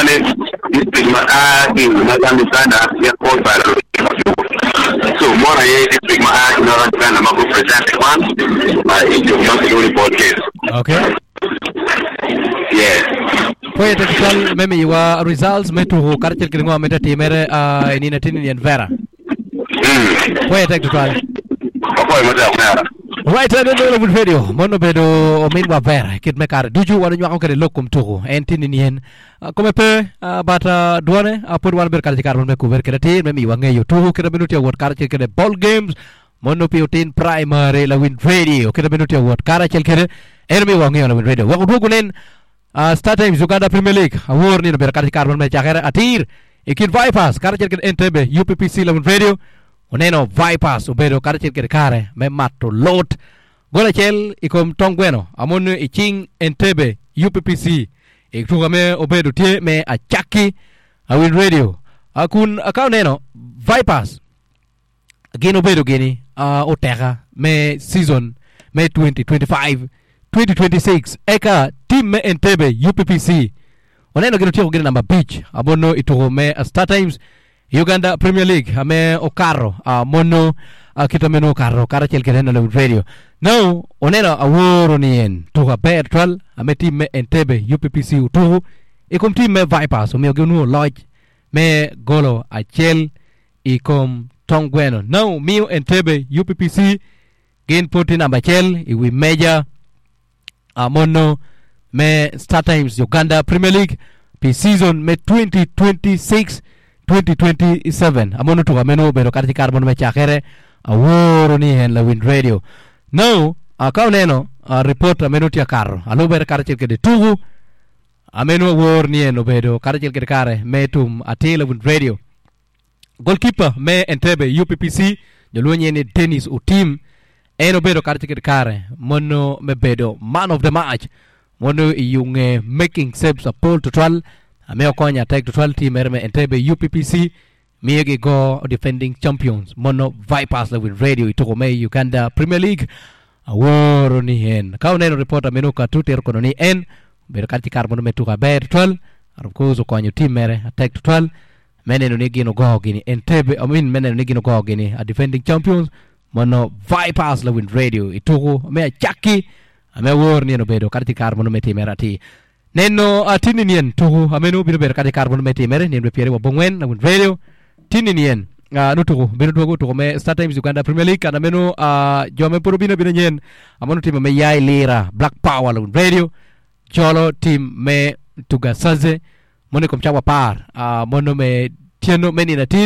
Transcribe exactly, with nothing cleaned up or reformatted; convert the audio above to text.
Kwale district ma a ki i Northern Uganda ya qualify so mona ye district ma a ki Northern Uganda ma go present one uh, i tuko ma kilwongo ni ball games Okay. yes Pwoyo tek twal me miyowa results me tuko karacel kede ngo me timere uh, i nino atin nien Vera. mm. Pwoyo tek twal. Apwoyo matek mera Right, uh, neno Lawin Radio. Mono bedo ominwa Vera kit me kare ducu wan onywako kede lok kom tuko. En tini nien. Uh, kome pe uh, but uh, dwone uh, pod wan bedo kare kare mon me kuber kede tir me miyowa ng'eyo tuko kede beno tye wot karacel kede ball games mono pi otin primary Lawin Radio kede beno tye wot karacel kede en miyowa ng'eyo Lawin Radio. Wek odwogo nen uh, Star Times Uganda Premier League awor nino bedo kare kare mon me cakere atir i kin Vipers karacel kede Entebbe U P P C Lawin Radio. Oneno Vipers obedo karacel kede kare me mato lot gol acel i kom tong gweno amono i cing Entebbe U P P C i tuko me obedo tye me acaki Awin Radio. Uh, kun ka oneno Vipers gin obedo gini uh, oteka me season me twenty twenty-five twenty twenty-six eka team me Entebbe U P P C oneno gin otyeko gini namba abic amono i tuko me Star Times Uganda Premier League ame okato uh, mono uh, kita meno okato karacel kede na Radio. Now oneno aworo ni en tuko aber twal ame team me Entebbe U P P C otuko i kom team me Vipers omiyo gin onwongo loc me golo acel i kom tong gweno. Now miyo Entebbe U P P C gin pod tye namba acel i wi meja uh, mono me Star Times Uganda Premier League pi season me twenty twenty-six twenty twenty-seven amono tuko meno obedo kata kare mono me cakere aworo ni en Lawin Radio. Now uh, ka oneno uh, report ameno tye akato alubere karacel kede tuku ameno awor ni en obedo karacel kede kare me tum atir Lawin Radio. Goalkeeper me Entebbe U P P C joluonye ni Dennis Otim en obedo karacel kede kare mono me bedo man of the match mono iyunge making saves apol tutwal ame okonyo atek tutwal team mere me Entebbe U P P C miyo gigo defending champions mono Vipers Lawin Radio i tuko me Uganda Premier League aworo ni en ka oneno report ameno katu tero kono ni en obedo kar kare mono me tuko aber tutwal and of course okonyo team mere atek tutwal me neno ni gin ogo gini Entebbe, I mean, me neno ni gin ogo gini a defending champions mono Vipers Lawin Radio i tuko me acaki ame awor ni en obedo kar kare mono me timere ati neno atini nien tuko ameno bino bedo kar kare mono me timere nien piere wa bongwen Lawin Radio tini nien uh, nutuko bino duogo tuko me Star Times Uganda Premier League kana meno uh, jome pod bino bino nyien amono team me Yai Lira Black Power Lawin Radio jolo team me Tugasaze mono kom cawa par uh, mono me tieno me nino atin.